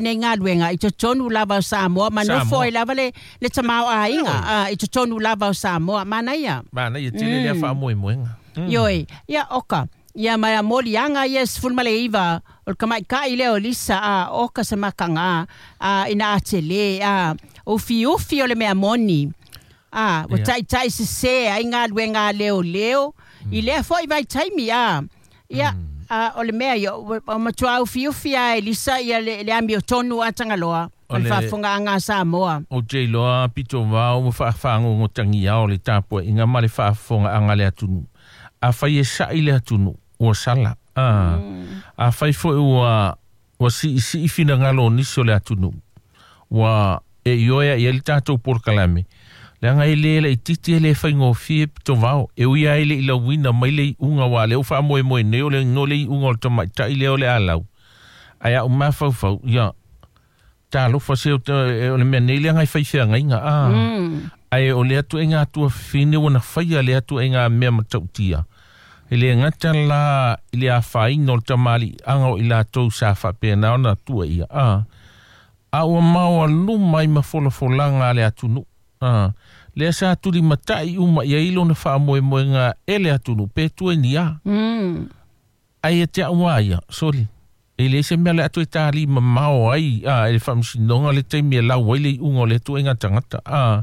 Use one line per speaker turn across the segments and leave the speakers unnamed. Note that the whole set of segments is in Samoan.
Nei galuega i totonu lava o Samoa ma nofo ai lava le tamaoaiga i totonu lava o Samoa. Manaia.
Manaia tele lea faamoemoega.
Ioe, ia oka. Ia ma moliaga ia 19 o le tamaitai lea o Lisa a oka se makaga a ina a tele a ufiufi o le mea moni a ua taitai sesē ai galuega a leoleo i lea fo'i vaitaimi a ia a o le mea ia ua matuā ufiufi a e Lisa ia le amiotonu a Tagaloa o le faafofogaaga a Samoa.
Ou te iloa pito vao ma faafagogotagia o le tapuaiga ma le faafofogaaga a le atunuu. Afai e sa'i le atunuu, ua sala. Afai foi ua siisii finagalo o nisi o le atunuu, ua e ioe i ai le tatou polokalame, leaga e lē laitiiti e lē faigofie pito vao, e ui ai le i lauina mai le iuga ua lea ua faamoemoe nei o le no le iuga o le tamaitai lea o le alau. Ae a'u mafaufau, ia, talofa se o le mea nei leaga e faifeagaiga a. Ae o lea tuaiga atuafafine ua na faia lea tuaiga mea matautia. E le gata la i le afaina o le tamaliiaga o i latou sa faapena ona tua ia a. A ua maoaluma ai ma folafolaga a le atunuu. A, lea sa tulimatai uma i ai lona faamoemoega e le atunuu pe tueni a. Ae ia te au a ia, soli. E leai se mea o le a toe tali mamao ai a, e le faamasinoga le taimi e lau ai le iuga o le ituaiga tagata. A,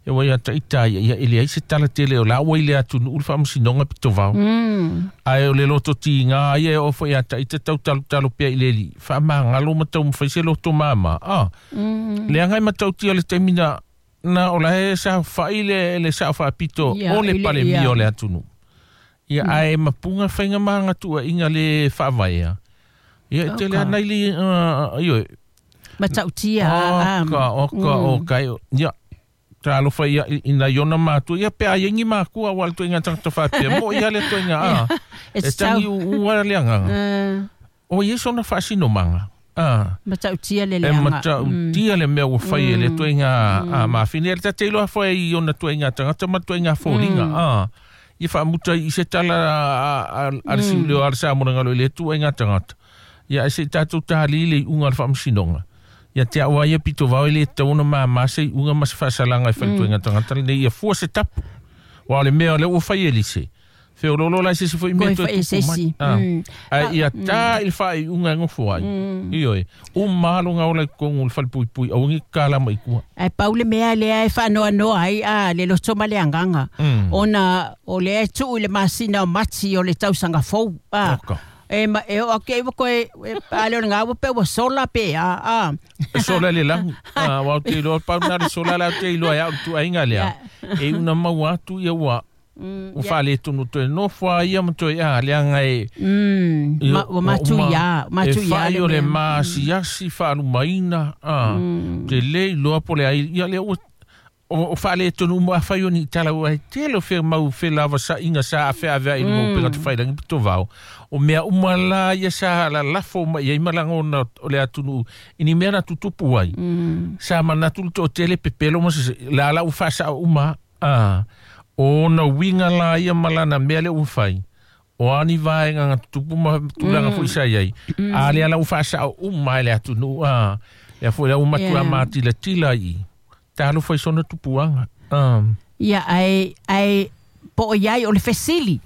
e ua ia taita ia, ia e leai se tala tele o la ua i le atunuu le faamasinoga pito vao. Ae o le loto tiga ia e oo foi ia taita tau talotalo pea i le alii, faamagalo ma taumafai se loto mama. A, leaga e matautia le taimi na, na o la e saofai le sao faapito o le Palemia o le atunuu. Ia, ae mapuga faiga ma agatuaiga le faavaea. Ia, e tele ana i le, ioe.
Matautia.
Oka, oka, oka. Ia, talofa ia i nai ona matua. Ia, pe a iai ni makua aua le tuaiga tagata faapea. Mo ia le tuaiga, a. E tangi uua le agaga. O ia sona faasinomaga. A.
Matautia le leaga.
E matautia le mea ua fai e le tuaiga a mafine. E te iloa foi i ona tuaiga tagata ma tuaiga foliga. A. Ia faamuta i se tala a le siuleo a le Samoa i le tuaiga tagata. Ia e se i tatou tali le iuga o le faamasinoga. Ia te au ia pito vao i le tatau ona mama se iuga ma se faasalaga e fai le tuaiga tagata lenei ia fua se tapu. Aua o le mea o lea ua fai e lise. Feoloolo la i se isi foi mea toe tupu mai. Ae ia ta i le faaiuga e nofo ai. Ioe. Uma lava lona ola i totonu o le falepuipui, aua ne i tatala mai i tua.
Ae pau le mea lea e faanoanoa ai a le loto ma le agaga, ona o lea e tuu i le masina o Mati o le tausaga fou. A, e, ma, e oo atu i ai ua toe, a le o lena ua pei ua sola pe a, a.
E sola i le lagi. A, aua ou te iloa, pau lena le sola lea ou te iloa ai au i le tuuaiga lea. E iu ina maua atu ia ua ua faaletonu toe nofo a ia ma toe a leaga e
ua matuia
matuia e fai o le maasiasi faalumaina a te le iloa po o le ai ia lea ua o faaletonu uma afai o ni tala ua e tele o fe mau felavasaiga sa afeaveai i luga o upega tafailagi pito vao o mea uma la ia sa lalafo mai ai ma lagona o le atunuu i ni mea na tutupu ai sa manatu le toatele pepelo ma se la la ua faasao uma a o ona uiga la ia ma lana mea lea ua fai, o a ni vaega na tutupu ma tulaga foi sa i ai, a lea la ua faasao uma e le atunuu, a, lea foi la ua matua matilatila i i, talofa i sona tupuaga. A.
Ia, ae po o i ai, o le fesili,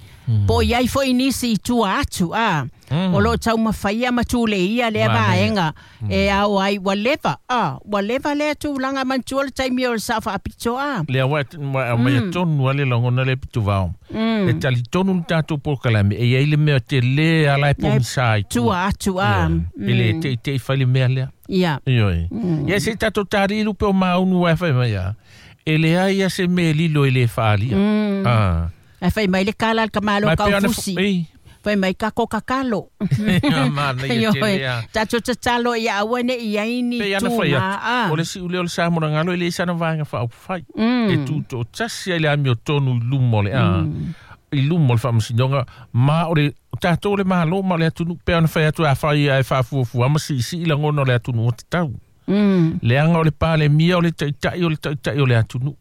po o i ai foi nisi i tua atu, a, o lo o taumafaia ma tuleia lea vaega e ao ai, ua leva, a, ua leva lea tulaga, manatua le taimi o le sao faapito, a.
Lea ua aumaia tonu lava le lagona lea pito vao. E talitonu le tatou polokalame, e i ai le mea tele lava la e pogisa i
tua. Tua atu, a.
E le teitei fai le mea lea.
Ia.
Ioe. Ia se i tatou tali lupe o maunu ae fai mai a. E leai lava se mea e lilo e le faaalia.
A. Ae fai mai le kala a le tamaloa kaufusi. Fai mai kako kakalo.
Manaia tele a.
Tatou tatalo ia aua ne i ai ni
Pei ana fai
tū
atu, o le siuleo o le Samoa e leai sana vaega faaupufai. E tutoatasi ai le amiotonu i luma o le a, i luma o le faamasinoga, ma o le o tatou o le Malo ma o le atunuu, pei ona fai atu afai ae faafuafua ma siisii lagona o le atunuu ua tatau. Leaga o le Palemia o le taitai o le taitai o le atunuu.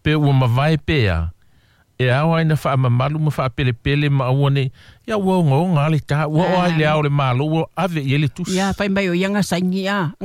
Pe ua mavae pe a, E ao ai na faamamalu ma faapelepele ma aua nei ia ua ogaoga le ta ua oo ai le ao o le malo ua ave i ai le tusi.
Ia fai mai o ia gasaigi a.